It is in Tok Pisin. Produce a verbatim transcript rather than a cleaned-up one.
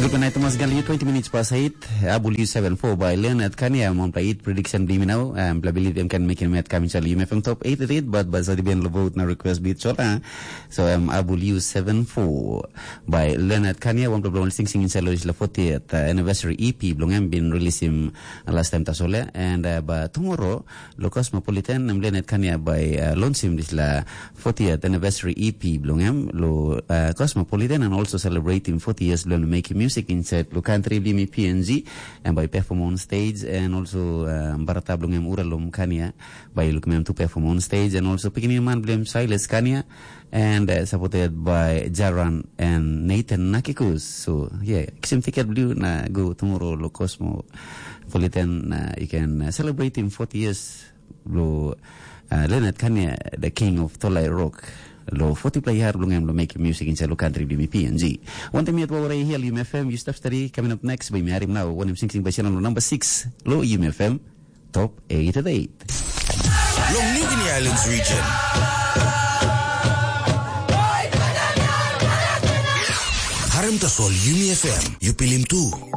Good night, Thomas Gali. Twenty minutes past eight. Abul U seven four by Leonard Kania. Mom play it prediction di minau. Um, play believe em can make him at coming sali. M F M top eight at eight, but but sadi ben lo vote na request beat sola. So um, Abul U seven four by Leonard Kania. One play sing sing in salo is la fortieth uh, anniversary E P belong em been release him uh, last time tasole. And uh, but tomorrow lo Cosmopolitan em Leonard Kania by uh, launch him this la fortieth anniversary E P belong em lo uh, Cosmopolitan and also celebrating forty years belong making music inside lo country bimi P N G and by perform on stage and also uh, barata belong em Uralum Kania by look em to perform on stage and also picking man belong Silas Kania and uh, supported by Jaran and Nathan Nakikus. So yeah, kisim ticket blue na go tomorrow lo Cosmopolitan uh, you can uh, celebrate him forty years lo uh, Leonard Kania, the king of Tolai Rock. Lo forty play har belong em lo make music in salo country bimi P N G. One time yet wawara here Yum F M, you stop study coming up next by Miharim now. One him sing sing by Shannon number six lo Yum F M top eight at eight. Long Nigini Islands region. Harem tasol Yumi F M, you pilim tu.